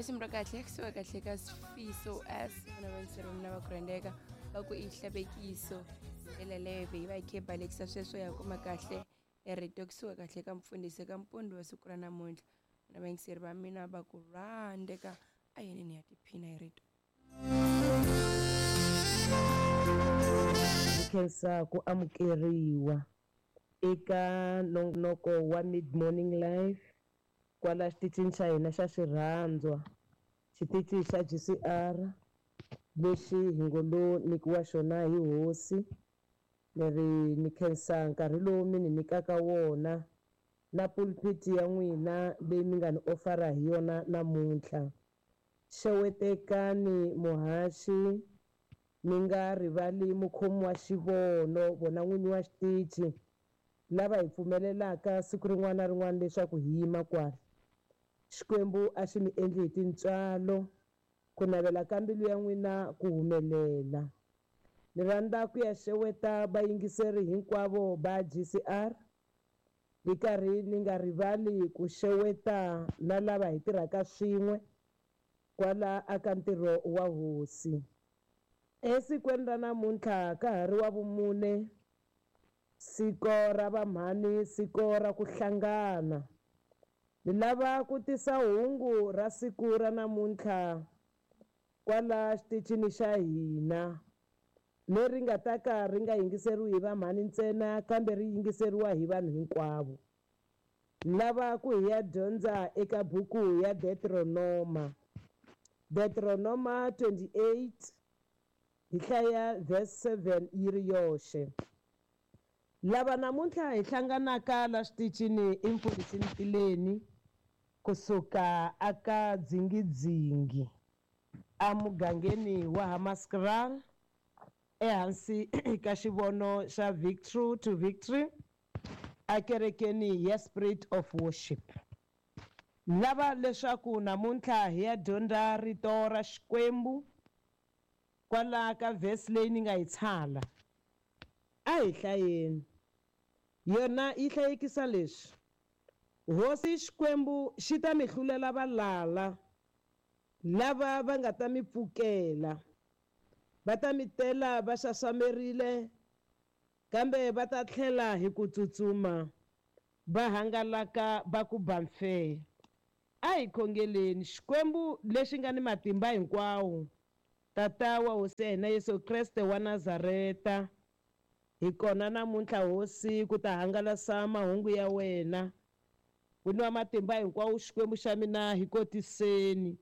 Risimu ra kahle kusuka kahle ka Sifiso S vona vayingiseri va mina va ku rhandzeka va ku i hlavekiso ndlela leyo yi va yi kha yi balekisa sweswo ya kuma kahle e rito kusuka kahle ka mfundhisi ka mpundzu wa siku ra namuntlha na vayingiseri va mina va ku rhandzeka a yini ni ya tiphina hi rito. Ndzi khensa ku amukeriwa eka nongonoko wa Mid Morning Live kwala xitichini xa hina xa xirhandzwa, xitichi xa GCR lexi hi ngo lo nyikiwa xona hi hosi. Ni ri ni khensa nkarhi lowu mi ni nyikaka wona na pulpit ya n'wina leyi mi nga ni ofara hi yona namuntlha. Xewetekani muhaxi, mi nga rivali mukhomi wa xivono, vona n'winyi wa xitichi, lava hi pfumelelaka siku rin'wana na rin'wana leswaku hi yima kwala. Xikwembu a xi mi endli hi tintswalo, ku navela ka mbilu ya n'wina ku humelela. Ni rhandza ku ya xeweta vayingiseri hinkwavo va GCR, ni karhi ni nga rivali ku xeweta na lava hi tirhaka swin'we kwala aka ntirho wa hosi. Esikwini ra namuntlha ka ha ri wa vumune, siko ra vamhani, siko ra ku hlangana. Ni lava ku tisa hungu ra siku ra namuntlha kwala xitichini xa hina, leri nga ta ka ri nga yingiseriwi hi vamhani ntsena kambe ri yingiseriwa hi vanhu hinkwavo. Ni lava ku hi ya dyondza eka buku ya Deuteronoma. Deuteronoma 28 hi hlaya verse 7 yi ri yoxe. Lava namuntlha hi hlanganaka la xitichini i mfundhisi Ntileni kusuka aka Dzingidzingi emugangeni wa Hammanskraal ehansi ka xivono xa Victory to Victory ekerekeni ya Spirit of Worship. Lava leswaku namuntlha hi ya dyondza rito ra Xikwembu kwala ka verse leyi ni nga yi tshala. A hi hlayeni. Yona yi hlayekisa leswi: Hosi Xikwembu xi ta mi hlulela valala lava va nga ta mi pfukela, va ta mi tela va xaxamerile, kambe va ta tlhela hi ku tsutsuma va hangalaka va ku ba mfe. A hi khongeleni. Xikwembu lexi nga ni matimba hinkwawo, Tata wa Hosi ya hina Yesu Kreste wa Nazareta, hi kona namuntlha Hosi ku ta hangalasa mahungu ya wena. N'wini wa matimba hinkwawo, Xikwembu xa mina, hi kotiseni.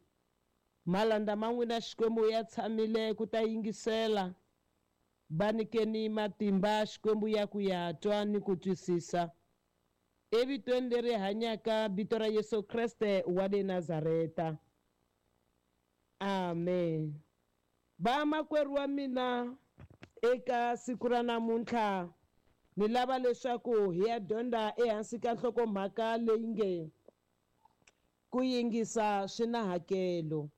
Malanda ma n'wina Xikwembu ya tshamile ku ta yingisela. Va nyikeni matimba Xikwembu ya ku ya twa ni ku twisisa. Evitweni leri hanyaka, vito ra Yesu Kreste wa le Nazareta. Amen. Vamakwerhu wa mina, eka siku ra namuntlha ni lava leswaku hi ya dyondza ehansi ka nhlokomhaka leyi nge ku yingisa swi na hakelo.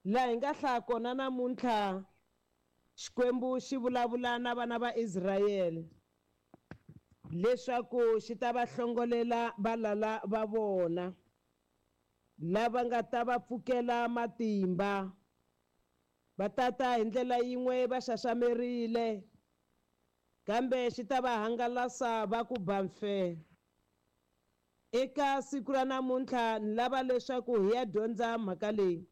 Laha hi nga hlaya kona namuntlha, Xikwembu xi vulavula na vana va Israyele leswaku xi ta va hlongolela valala va vona lava nga ta va pfukela matimba. Va tata hi ndlela yin'we va xaxamerile, kambe xi ta va hangalasa va ku ba mfe. Eka siku ra namuntlha ni lava leswaku hi ya dyondza mhaka leyi.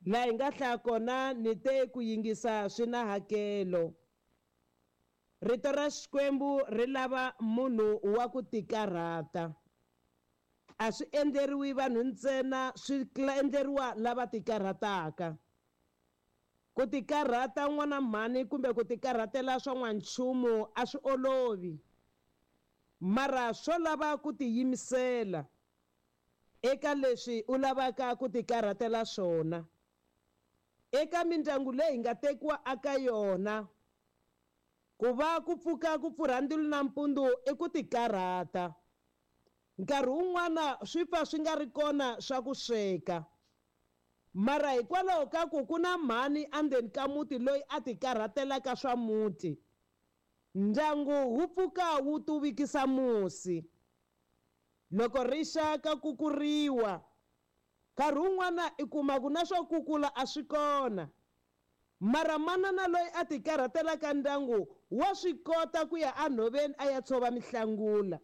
Laha hi nga hlaya kona ni te ku yingisa swi na hakelo. Rito ra Xikwembu ri lava munhu wa ku tikarhata. A swi endleriwi vanhu ntsena, swi endleriwa lava tikarhataka. Ku tikarhata n'wana mhani kumbe ku tikarhatela swa n'wanchumu a swi olovi, mara swo lava ku tiyimisela eka leswi u lavaka ku tikarhatela swona. Eka mindyangu leyi hi nga tekiwa aka yona, ku va ku pfuka ku pfurha ndzilo nampundzu i ku tikarhata. Nkarhi wun'wana swi pfa swi nga ri kona swa ku sweka, mara hikwalaho ka ku ku na mhani endzeni ka muti loyi a tikarhatelaka swa muti, ndyangu wu pfuka wu tuvikisa musi. Loko ri xa ka kukuriwa, Nkarhi wun'wana i kuma ku na swo kukula a swi kona, mara manana loyi a ti karhatelaka ndyangu wa swi kota ku ya enhoveni a ya tshova mihlangula,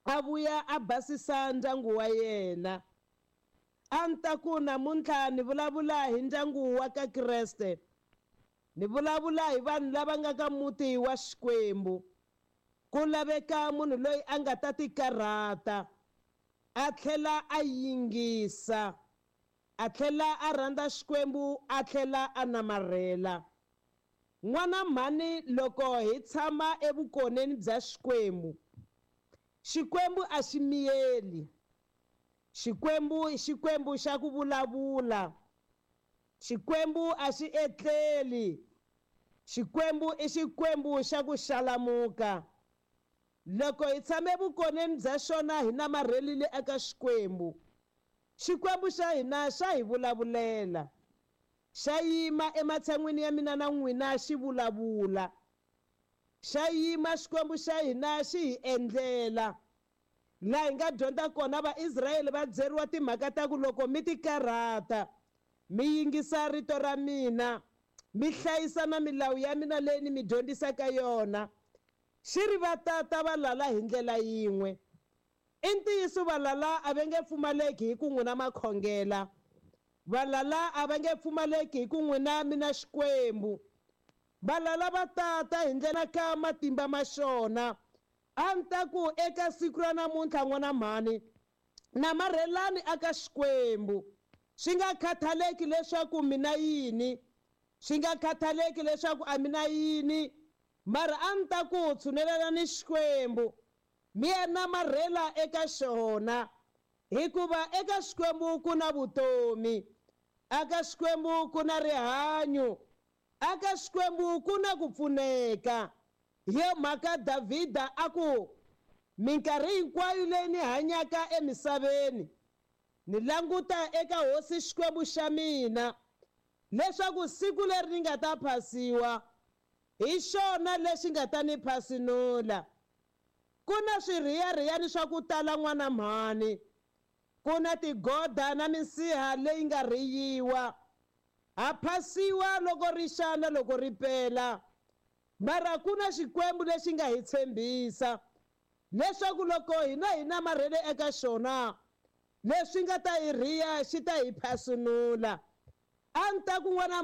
a vuya a basisa ndyangu wa yena. A ni ta ku namuntlha ni vulavula hi ndyangu wa ka Kreste, ni vulavula hi vanhu lava nga ka muti wa Xikwembu. Ku laveka munhu loyi a nga ta ti karhata, a tlhela a yingisa, a tlhela a rhandza Xikwembu, a tlhela a namarhela. N'wana mhani, loko hi tshama evukoneni bya Xikwembu, Xikwembu a xi miyeli. Xikwembu i Xikwembu xa ku vulavula. Xikwembu a xi etleli. Xikwembu i Xikwembu xa ku xalamuka. Loko hi tshame vukoneni bya xona hi namarhelile eka Xikwembu, Xikwembu xa hina xa hi vulavulela. Xa yima ematshan'wini ya mina na n'wina xi vulavula. Xa yima Xikwembu xa hina xi hi endlela. Laha hi nga dyondza kona Vaisrayele va byeriwa timhaka ta ku loko mi ti karhata, mi yingisa rito ra mina, mi hlayisa na milawu ya mina leyi ni mi dyondzisaka yona, xi ri va tata valala hi ndlela yin'we. I ntiyiso valala a va nge pfumaleki hi ku n'wina makhongela, valala a va nge pfumaleki hi ku n'wina mina Xikwembu. Valala va tata hi ndlela ka matimba ma xona. A ni ta ku eka siku ra namuntlha n'wana mhani, namarhelani aka Xikwembu. Swi nga khathaleki leswaku mina yini, swi nga khathaleki leswaku a mina yini, mara a ni ta ku tshunelelani Xikwembu, mi ya namarhela eka xona, hikuva eka Xikwembu ku na vutomi, aka Xikwembu ku na rihanyo, aka Xikwembu ku na ku pfuneka. Hi yo mhaka Davhida a ku, minkarhi hinkwayo leyi ni hanyaka emisaveni, ni languta eka Hosi Xikwembu xa mina, leswaku siku leri ni nga ta phasiwa hi xona lexi nga ta ni phasinula. Ku na swirhiyarhiyani swa ku tala n'wana mhani, ku na tigoda na minsiha leyi nga rhiyiwa. Ha phasiwa loko ri xa na loko ri pela, mara ku na Xikwembu lexi nga hi tshembisa leswaku loko hina hi namarhele eka xona, leswi nga ta hi rhiya xi ta hi phasinula. A ni ta ku n'wana